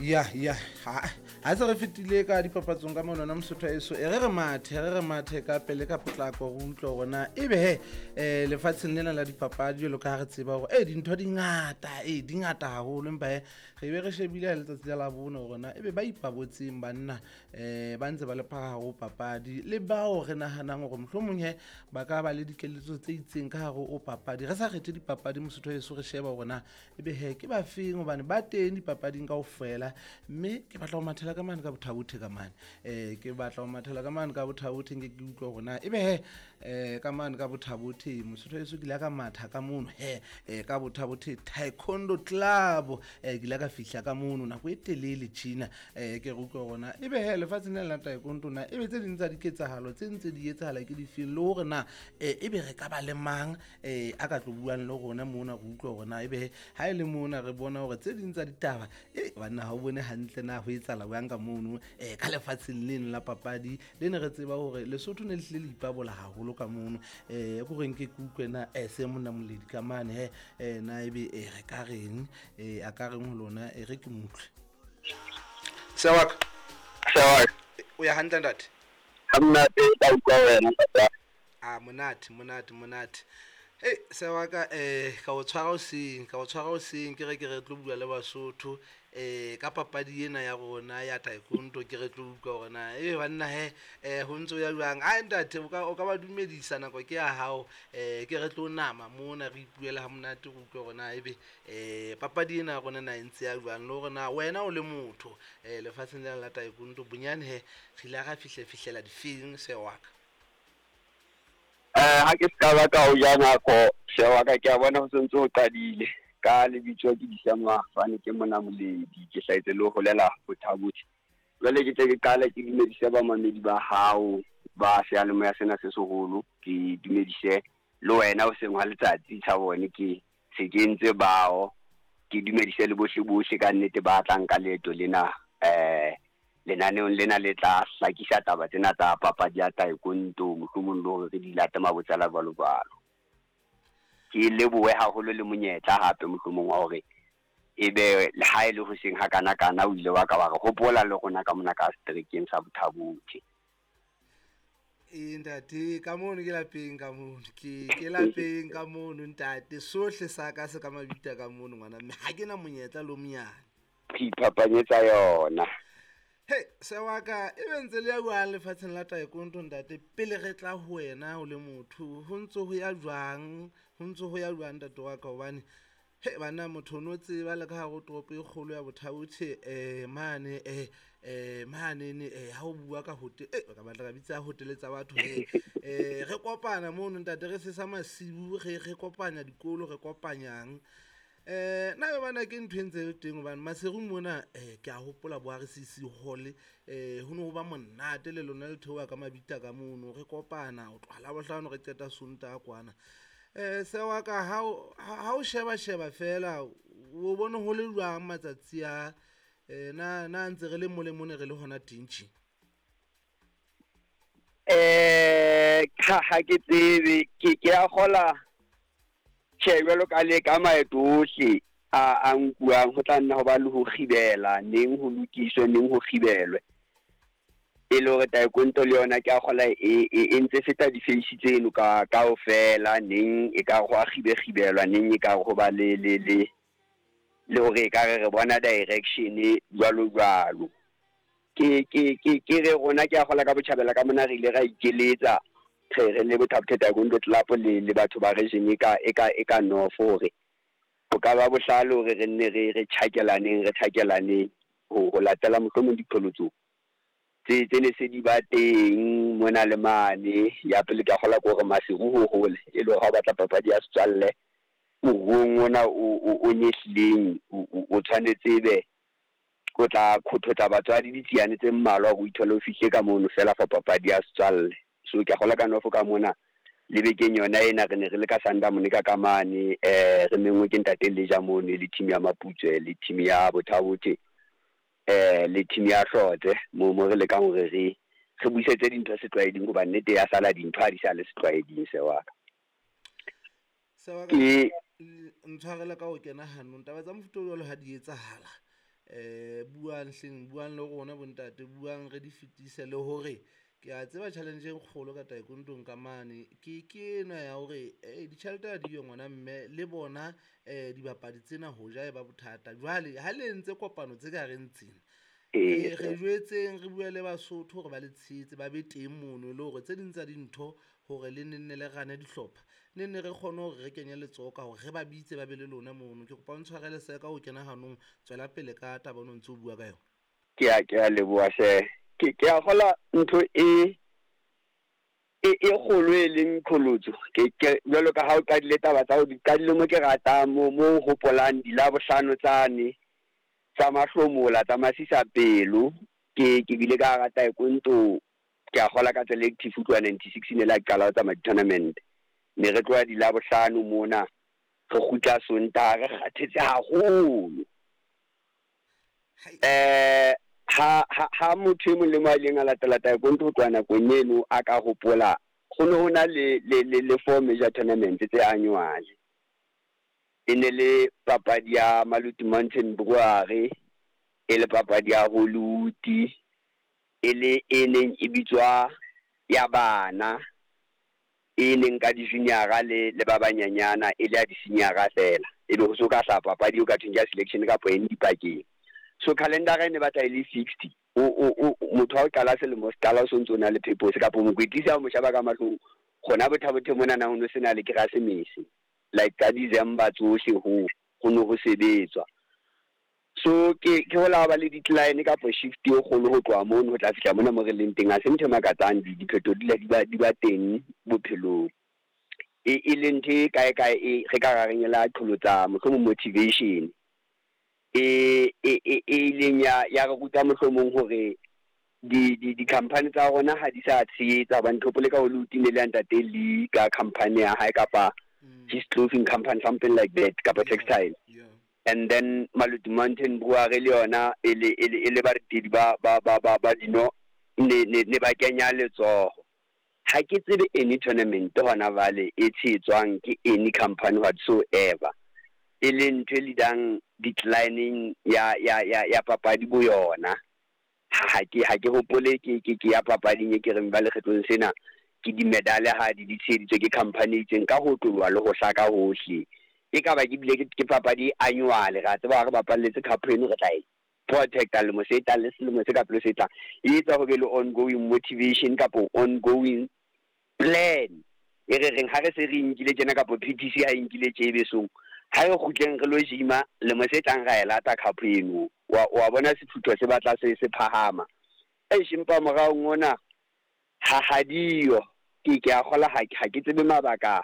Ya ya, ha se re fetile ka dipapatsong ka monona Mosotho eso, e re re mathe, re re mathe ka pele ka potlako, re utlwe hore na ebe he lefatsheng lena la dipapadi, jwalo ka ha re tseba hore e dintho di ngata, e di ngata haholo, empa he re be re shebile ha letsatsi la Labone hore na ebe ba ipabotseng banna ba ntse ba le phara ho papadi, le bao re nahanang hore mohlomong he ba ka ba le dikeletso tse itseng ka hare ho papadi. Re sa kgethe dipapadi Mosotho eso, re sheba hore na ebe he ke ba feng, hobane ba teng dipapading kaofela. Mme ke batla ho mathela ka mane ka Bothabothe ka mane, ke batla ho mathela ka mane ka Bothabothe, nke ke utlwa hore na ebe he ka mane ka Bothabothe Mosotho eso, ke ile ka matha ka mono he ka Bothabothe Taekwondo Club, ke ile ka fihla ka mono nako e telele tjena, ke re utlwa hore na ebe he lefatsheng lena la taekwondo na ebe tse ding tsa diketsahalo tse ntse di etsahala ke difeng, le hore na ebe re ka ba le mang a ka tlo buang le rona mona, re utlwa hore na ebe ha e le mona re bona hore tse ding tsa ditaba banna ha o bone hantle na ho etsahala jwang ka mono ka lefatsheng leno la papadi le ne re tseba hore Lesotho ne le hlile le ipabola haholo ka mono. Ko reng ke utlwe na se monna Moledi ka mane he na ebe re ka reng, a ka reng ho lona, e re ke mutlwe. Sewaka. Sewaka. O ya hantle ntate? Ha monate, ka utlwa wena ntate. Ah, monate, monate, monate. Hey, Sewaka, ka o tshwara hoseng, ka o tshwara hoseng, ke re ke re tlo bua le Basotho ka papadi ena ya rona ya taekwondo, ke re tlo utlwa hore na ebe banna he ho ntso ya jwang. A ntate, o ka ba dumedisa, nako ke ya hao, ke re tlo nama mona re ipuela ha monate, re utlwe hore na ebe papadi ena ya rona na e ntse ya jwang, le hore na wena o le motho lefatsheng lena la taekwondo bonyane he re ile ra fihlela difeng, Sewaka? Ha ke ska ba ka o ja nako, Sewaka, ke a bona ho sentse ho qadile. Ka lebitso ke Disa Mafane, ke mona Moledi, ke hlahetse le ho holela Bothabothe. Jwale ke tle ke qale ke dumedise bamamedi ba hao ba seyalemoya sena se seholo, ke dumedise le wena hoseng hwa letsatsi sa bone, ke se ke entse bao, ke dumedise le bohle bohle ka nnete ba tlang ka leeto lena, lenaneong lena le tla hlakisa taba tsena tsa papadi ya taekwondo, mohlomong le hore re di late mabotsela jwalo jwalo. Ke lebohe haholo le monyetla hape mohlomong wa hore ebe le ha e le hoseng ha kana kana o ile wa ka wa re hopola le rona ka mona ka seterekeng sa Bothabothe. Ee ntate, ka mono ke lapeng, ka mono ke lapeng ka mono ntate, sohle sa ka se ka mabita ka mono ngwana, mme ha ke na monyetla le o monyane. Re iphapanyetsa yona. Hey, Sewaka, e be ntse le ya jwang lefatsheng la taekwondo ntate, pele re tla ho wena o le motho, ho ntse ho ya jwang, ho ntse ho ya jwang ntate wa ka, hobane he bana motho o no tseba le ka hare ho toropo e kgolo ya Bothabothe mane mane ha o bua ka hotel, ka batla ka bitsa hotele tsa batho he, re kopana mono ntate, re sesa masiu, re kopanya dikolo, re kopanyang. Na be bana ke ntho e ntse le teng, hobane Maseru mona ke a hopola bo RCC Hall, ho no ba monate le lona le theoha ka mabita ka mono, re kopana ho tloha Labohlano re qeta Sontaha kwana. Sewaka, ha o sheba sheba fela o bone ho le jwang matsatsi a, na ntse re le mole mone re le hona teng tje? Ha ke tsebe, ke a kgola tjhe, jwalo ka le ka maeto ohle a nkuwang, ho tla nna ho ba le ho kgibela, neng ho lokiswe, neng ho kgibelwe. E le hore taekwondo le yona ke a kgola e ntse feta di-face tseno ka kaofela, neng e ka ho a kgibe-kgibelwa, neng e ka ho ba le le le le hore e ka re re bona direction jwalo jwalo. Ke ke ke ke re rona ke a kgola ka botjhabela ka mona re ile ra ikeletsa re le Bothabothe Taekwondo Club le batho ba region e ka e ka e ka north, hore ho ka ba bohlale hore re nne re tjhakelaneng, re tjhakelaneng ho latela mohlomong diqholotso tse ne se di ba teng mona le mane. Ya pele ke a kgola ke hore Maseru ho hole, e le hore ha o batla papadi ya setswalle moruong ona o nyehlileng, o tshwanetse ebe o tla kgothotsa batswadi ditsiane tse mmalwa hore o ithole o fihle ka mono fela for papadi ya setswalle. So ke a kgola ka north ka mona le bekeng yona ena re ne re le ka Sandamone ka kamane, re menngwe ke ntate Leja mono le team ya Maputswe le team ya Bothabothe, le team ya Hlotse, mo re lekang hore re busetse dintho setlwaeding, hobane nnete ya sala dintho ha di sa le setlwaeding. Sewaka. Sewaka, ntshwarele ka ho kena hanong, taba tsa mofuta o jwalo ha di etsahala. Buang hleng, buang le rona bontate, buang re di fetise le hore ke a tseba challenge e kgolo ka taekwondong ka mane ke ena ya hore ditjhelete ha diyo ngwana mme le bona dibapadi tsena ho ja e ba bothata. Jwale ha le entse kopano tse ka reng tsena, re jwetseng re bue le Basotho hore ba le tshehetse, ba be teng mono le hore tse ding tsa dintho hore le nenne le rane dihlopha, ne nne re kgone hore re kenye letsoho ka hore re ba bitse ba be le lona mono. Ke kopa o ntshwarele Sir ka ho kena hanong, tswela pele ka taba o no ntso o bua ka yona. Ke a leboha hle. Ke a kgola ntho e kgolo e leng qholotso. Ke jwalo ka ha o qadile taba tsa ho di qadile mo ke ratang mo hopolang dilabohlano tsane tsa mahlomola tsa masisapelo. Ke bile ka hara taekwondo, ke a kgola ka tsela e active ho tloha 96 ne la qala ho tsamaya di-tournament. Ne re tloha dilabohlano mona, re kgutla Sontaha re kgathetse haholo. Ha motho e mong le mong a ileng a latela taekwondo ho tloha nakong eno a ka hopola, ho ne ho na le four major tournaments tse annual. E ne le papadi ya Maluti Mountain Brewery, e le papadi ya Hollywood, e le e neng e bitswa ya bana, e neng ka di-junior-a le ba banyanyana, e le ya di-senior-a fela. E be ho so ka hlaha papadi eo ka thweng ke ya selection kapa eng dipakeng. So calendar e ne batla e le 60. O motho ha o qala selemo se qala o sontso o na le purpose kapa mokwetlisi ha o mo sheba ka mahlong, gona Botha-Bothe monana ho no sena le Keresemese. Like ka December tsohle ho no ho sebetswa. So ke ho la ba le decline kapa shift e kgolo ho tloha mono ho tla fihla mona mo re leng teng. Ha se ntho e makatsang, diphetho di ba teng bophelong. E le ntho e kae kae e re ka ra reng e la qholotsa mohlomong motivation e ileng ya re ruta mohlomong hore di company tsa rona ha di sa tshehetsa hobane hopole ka Hollywood ne le ya ntate Lee ka company ya hae kapa his clothing company, something like that, kapa textile. And then Maluti Mountain Brewery le yona e le baretedi ba dino ne ba kenya letsoho. Ha ke tsebe any tournament hona jwale e tshehetswang ke any company whatsoever, e leng ntho e leadang declining ya papadi bo yona. Ha ke hopole ke ya papading e ke reng ba lekgetlong sena ke di-medal ha di tsheheditswe ke company e itseng ka ho otloloha le ho hlaka hohle. E ka ba ke bile ke papadi annual, ra tseba ha re bapalletse cup eno re tla e protecta lemo se tlang le selemo se ka pele se tlang. E etsa ho be le ongoing motivation kapo ongoing plan e re reng ha re se re nkile tjena kapo PTC ha e nkile tje besong, ha re kgutleng re lo gym-a lemo se tlang ra e lata cup eno. Wa bona sefutho se batla se phahama. Eish, empa moraong ona ha diyo. Ke a kgola ha ke tsebe mabaka.